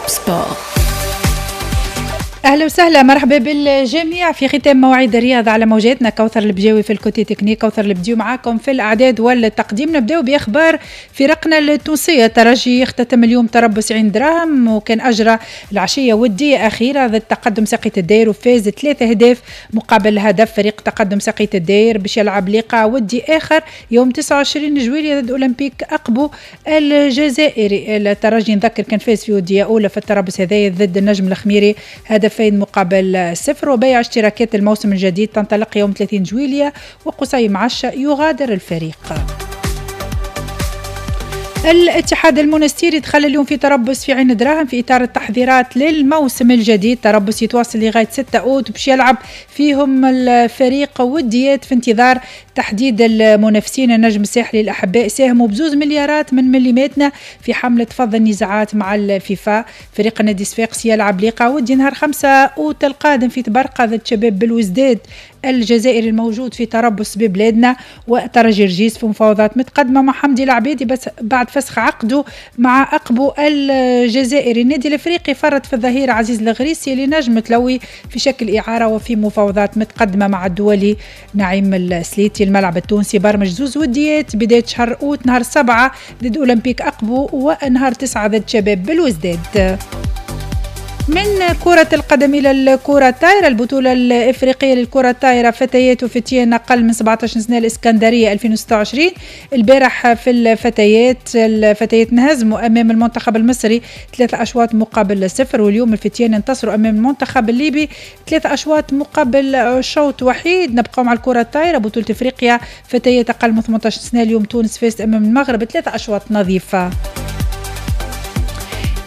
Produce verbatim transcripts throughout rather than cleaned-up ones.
Top Sport. اهلا وسهلا، مرحبا بالجميع في ختام مواعيد الرياضة على موجاتنا. كوثر البجاوي في ال côté technique، كوثر البديو معاكم في الاعداد والتقديم. نبداو باخبار فرقنا التونسيه. الترجي اختتم اليوم تربص عين دراهم، وكان اجرى العشية وديه اخيرة ضد تقدم ساقية الداير وفاز ثلاثة اهداف مقابل هدف. فريق تقدم ساقية الداير باش يلعب لقاء ودي اخر يوم تسعة وعشرين جويلية ضد اولمبيك اقبو الجزائري. الترجي نذكر كان فاز في وديه اولى في التربص هذايا ضد النجم الخميري هدفين مقابل صفر. وبيع اشتراكات الموسم الجديد تنطلق يوم ثلاثين جويلية، وقصي معشة يغادر الفريق. الاتحاد المونستيري دخل اليوم في تربص في عين دراهم في اطار التحضيرات للموسم الجديد، تربص يتواصل لغاية ستة اوت باش يلعب فيهم الفريق وديات في انتظار تحديد المنافسين. النجم الساحلي الاحباء ساهموا بزوز مليارات من مليماتنا في حمله فض النزاعات مع الفيفا. فريق النادي الصفاقسي يلعب لقاء ودي نهار خمسة اوت القادم في طبرقه ضد شباب بلوزداد الجزائري الموجود في تربص ببلادنا. وترجي رجيس في مفاوضات متقدمة مع حمدي العبيدي بس بعد فسخ عقده مع اقبو الجزائري. النادي الافريقي فرط في الظهير عزيز الغريسي لنجم تلوي في شكل اعاره، وفي مفاوضات متقدمة مع الدولي نعيم السليتي. الملعب التونسي برمج زوز وديات بداية شهر اوت، نهار سبعة ضد اولمبيك اقبو ونهار تسعة ضد شباب بلوزداد. من كرة القدم إلى الكرة الطائرة، البطولة الإفريقية للكرة الطائرة فتيات وفتيان أقل من سبعة عشر سنة الإسكندرية ألفين وستة وعشرين. البارح في الفتيات، الفتيات انهزموا أمام المنتخب المصري ثلاث أشواط مقابل صفر، واليوم الفتيان انتصروا أمام المنتخب الليبي ثلاث أشواط مقابل شوط وحيد. نبقى مع الكرة الطائرة، بطولة إفريقيا فتيات أقل من ثمنطاش سنة، اليوم تونس فازت أمام المغرب ثلاث أشواط نظيفة.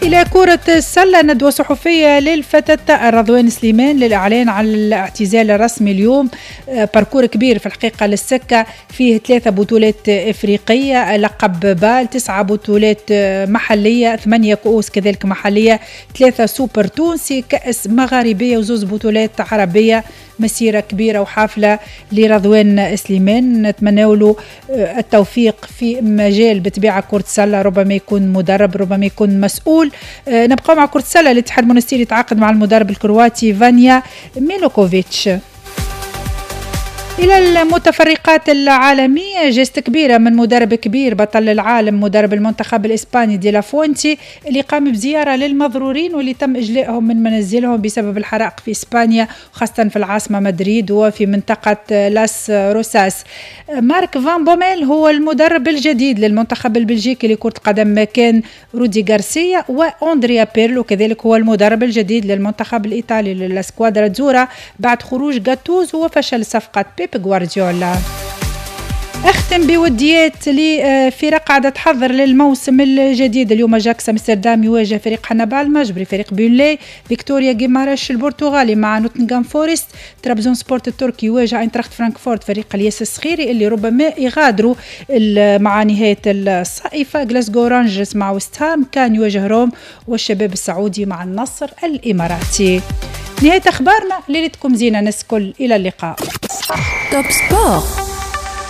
إلى كرة السلة، ندوة صحفية للفتى رضوان سليمان للإعلان عن الاعتزال الرسمي اليوم. آه، parcours كبير في الحقيقة للسكة، فيه ثلاثة بطولات إفريقية، لقب بال، تسعة بطولات محلية، ثمانية كؤوس كذلك محلية، ثلاثة سوبر تونسي، كأس مغاربية وزوز بطولات عربية. مسيرة كبيرة وحافلة لرضوان سليمان، نتمنى له آه، التوفيق في مجال بطبيعة كرة السلة، ربما يكون مدرب، ربما يكون مسؤول. آه، نبقى مع كرة السلة، الاتحاد المونستيري يتعاقد مع المدرب الكرواتي فانيا ميلوكوفيتش. إلى المتفرقات العالمية، geste كبيرة من مدرب كبير بطل العالم، مدرب المنتخب الإسباني دي لافونتي اللي قام بزيارة للمضرورين واللي تم إجلائهم من منازلهم بسبب الحرائق في إسبانيا، خاصة في العاصمة مدريد وفي منطقة لاس روساس. مارك فان بوميل هو المدرب الجديد للمنتخب البلجيكي لكرة القدم مكان رودي غارسيا، وأندريا بيرلو كذلك هو المدرب الجديد للمنتخب الإيطالي لل Squadra Azzurra بعد خروج غاتوزو وفشل صفقة بيب غوارديولا. اختم بوديات لفرق قاعدة تحضر للموسم الجديد. اليوم اجاكس امستردام يواجه فريق حنبعل المجبري، فريق بيرنلي فيكتوريا جيمارش البرتغالي مع نوتنغهام فورست، ترابزون سبورت التركي يواجه اينتراخت فرانكفورت، فريق الياس الصخيري اللي ربما يغادروا مع نهاية الصائفه، غلاسكو رانجرز مع ويست هام، كان يواجه روم، والشباب السعودي مع النصر الاماراتي. نهاية اخبارنا، ليلتكم زينة ناس الكل، الى اللقاء. Top Sport.